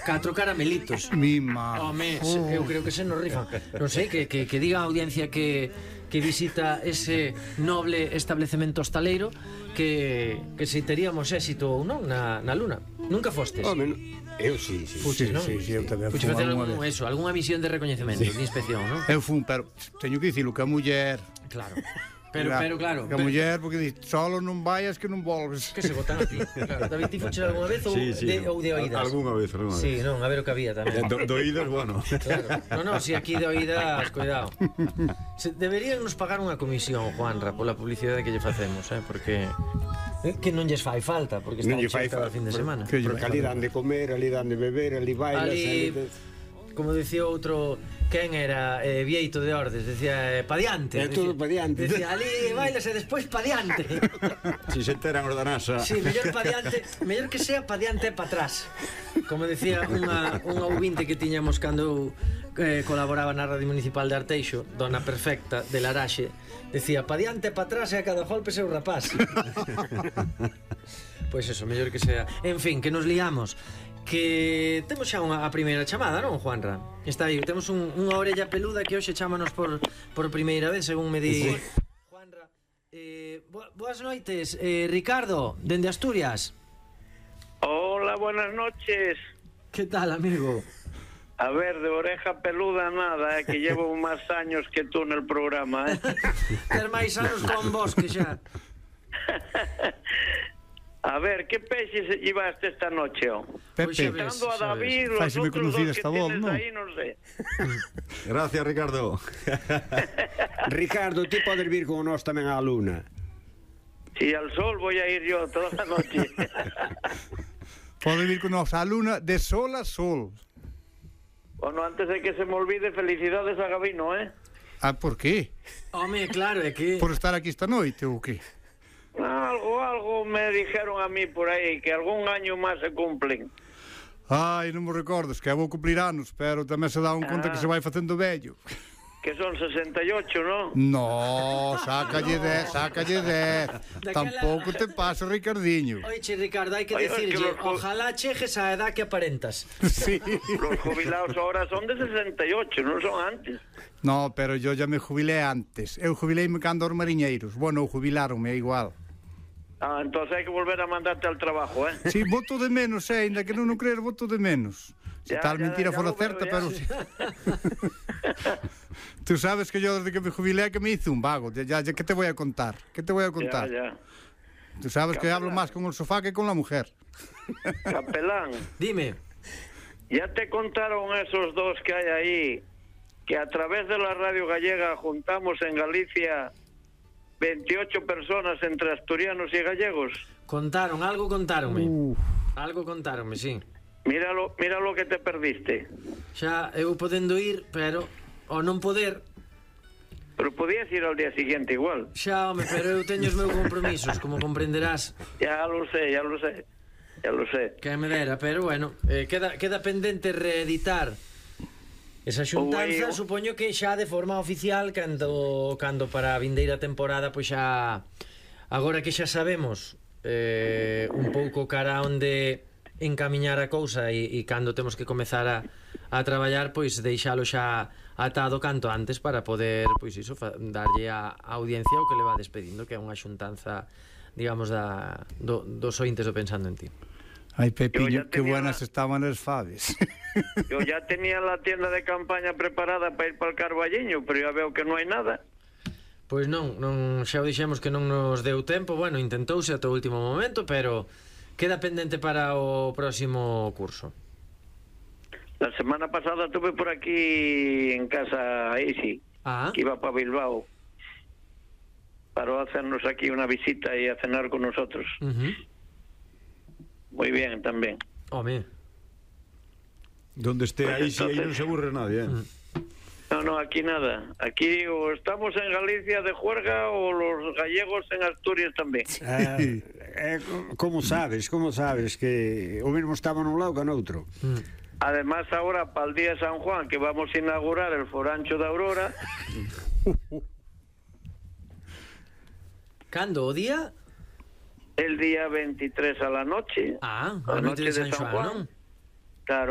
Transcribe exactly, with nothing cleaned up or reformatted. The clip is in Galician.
Catro caramelitos. Mima. Home, oh. eu creo que se nos rifan. Non sei, que, que, que diga a audiencia que, que visita ese noble establecemento hostaleiro que, que se teríamos éxito ou non na, na Luna. Nunca fostes? Home, eu sí, sí. Fuches, non? Sí, sí, eu tamén Fuches facer algún, eso, algunha misión de recoñecemento, sí. de inspección, non? Eu fun, pero teño que dicilo que a muller... Claro. Pero, pero claro, que a muller, porque di, solo non vayas que non volves. Que se botan a ti. Claro, David, ti fuches algunha vez ou, sí, sí, de, no. ou de oídas? Alguna vez, alguna vez. Sí, non, a ver o que había tamén. Do, de oídas, bueno. Claro. No, no, si aquí de oídas, cuidado. Se, deberían nos pagar unha comisión, Juanra, pola publicidade que lle facemos, eh, porque eh, que non lles fai falta, porque está cheio cada fin de semana. Porque ali dan de comer, ali dan de beber, ali bailas, ali... ali... Como dicía outro, quen era eh, Vieito de Ordes, decía eh, pa diante. É todo pa diante. Decía, ali bailas e despois pa diante. Si se enteran os da NASA. Sí, mellor pa diante, mellor que sea pa diante e pa atrás. Como decía unha, unha ouvinte que tiñamos cando eh, colaboraba na Radio Municipal de Arteixo, Dona Perfecta de Laraxe, decía, pa diante e pa atrás e a cada golpe seu rapaz. Pois eso, mellor que sea. En fin, que nos liamos. Que temos xa unha, a primeira chamada, non, Juanra? Está aí, temos un, unha orella peluda que hoxe chámanos por, por primeira vez, según me di sí. Juanra. eh, Boas noites, eh, Ricardo, dende Asturias. Hola, buenas noches. Que tal, amigo? A ver, de oreja peluda nada, eh, que llevo máis años que tú no programa, eh. Ter máis anos con vos que xa. A ver, que peixes llevaste esta noche, oh? Pepe, quitando a David, los Fáiseme otros dos que esta voz, tienes ¿no? aí, non sei. Gracias, Ricardo. Ricardo, ti podes vir con nós tamén á Luna. Si al sol voy a ir yo toda la noche. Podes vir con nós á Luna de sol a sol. Bueno, antes de que se me olvide, felicidades a Gabino, eh? Ah, por qué? Home, claro, é que... Por estar aquí esta noite ou que? Algo, algo me dijeron a mí por aí, que algún año máis se cumplen. Ai, non me recordes, que eu vou cumplir anos, pero tamén se dá un conta ah. que se vai facendo vello. Que son sesenta e ocho, non? No, sácalle no. dez, sácalle dez. Daquela... Tampouco te pasa, Ricardiño. Oiche, Ricardo, hai que dicirlle, los... ojalá chejes a edad que aparentas. Sí. Los jubilados ahora son de sesenta e ocho, non son antes. No, pero yo ya me jubilé antes. Eu jubileime cando os mariñeiros. Bueno, jubilaronme, é igual. Ah, entonces hai que volver a mandarte al trabajo, eh? Sí, voto de menos, eh, ainda que non o creer, voto de menos. Se ya, tal ya, mentira ya fora certa, pero... Tú sabes que yo desde que me jubilé que me hice un vago. Ya, ya, ¿qué te voy a contar? ¿Qué te voy a contar? Ya, ya. Tú sabes Capelán. Que hablo más con el sofá que con la mujer. Capelán. Dime. Ya te contaron esos dos que hay ahí, que a través de la radio gallega juntamos en Galicia veintiocho personas entre asturianos y gallegos. Contaron, algo contaronme. Uh. Algo contaronme, sí. Míralo, mira lo que te perdiste. Xa eu podendo ir, pero o non poder. Pero podías ir al día siguiente igual. Xa, home, pero eu teño os meus compromisos, como comprenderás. Ya lo sé, ya lo sé. Ya lo sé. Que me dera, pero bueno, eh, queda, queda pendente reeditar esa xuntanza, eu... supoño que xa de forma oficial cando, cando para a vindeira temporada, pois xa agora que xa sabemos eh, un pouco cara onde encamiñar a cousa e, e cando temos que comezar a, a traballar, pois deixalo xa atado canto antes para poder, pois iso, fa, darlle a, a audiencia o que le va despedindo, que é unha xuntanza, digamos, da, do, dos ointes do Pensando en Ti. Ay, Pepiño, qué buenas la... estaban las faves. Yo ya tenía la tienda de campaña preparada para ir para el Carballiño, pero ya veo que non hai nada. Pois non, non xa o dixemos que non nos deu tempo. Bueno, intentouse ata o último momento, pero queda pendente para o próximo curso. La semana pasada estuve por aquí en casa Isi, ah. que iba para Bilbao, para hacernos aquí una visita y a cenar con nosotros. Uh-huh. Muy bien, también. Home. Donde esté pues ahí, entonces... si ahí no se aburre nadie, ¿eh? Uh-huh. No, no, aquí nada. Aquí o estamos en Galicia de juerga o los gallegos en Asturias tamén. Eh, eh, como sabes, como sabes que o mesmo estaba nun lado que no outro. Mm. Además ahora para el día San Juan que vamos a inaugurar el Forancho de Aurora. ¿Cando o día? El día veintitrés a la noche. Ah, a, a noche de San, San Juan, Juan. ¿No?